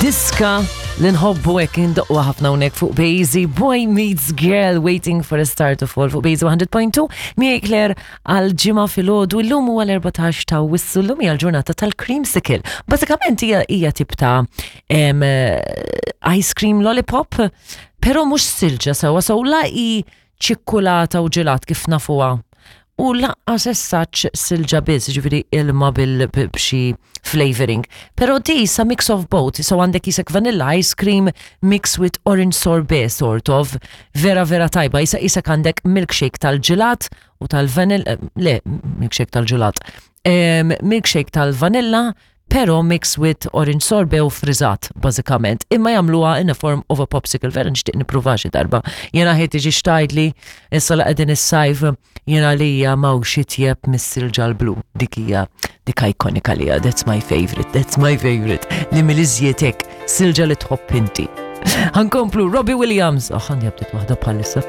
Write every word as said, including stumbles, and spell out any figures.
Diska li nħobbu hekk indoqqu ħafna hawnhekk fuq Bejzi, Boy Meets Girl, Waiting for a Star to Fall fuq Bejzi one hundred point two. Miegħi Claire għal Ġimgħa filgħodu. Illum huwa l-erbatax ta' Awwissu, llum hija l-ġurnata tal-creamsicle. Bażikament hija hija tip ta' em, eh, ice cream lollipop, però mhux silġa sewwa sew, la hi ċikkulata u ġelat kif nafuha. U lanqas essaċ silġa biss, ġifieri ilma bil b'xi flavoring. Però di sa mix of both, so għandek jisek vanilla ice cream mixed with orange sorbet, sort of, vera vera tajba, jisa jisek għandek milkshake tal-ġelat u tal-vanilla, le, milkshake tal-ġelat, um, milkshake tal-vanilla, pero mixed with orange sorbet u frizzat, bażikament. Imma jagħmluha in a form of a popsicle, vera nixtieq nipprova xi darba. Jena ħejt tiġi xtajdli, issa la qegħdin is-sajf, jena li hija m'hawnx itjeb mis-silġa l-blu. Dik hija dik ikonika li hija, that's my favorite, that's my favorite. Li mill-iżjed silġa li tħobb inti. Ħa nkomplu, Robbie Williams. Oh, ħan jabdet waħda bħalissa.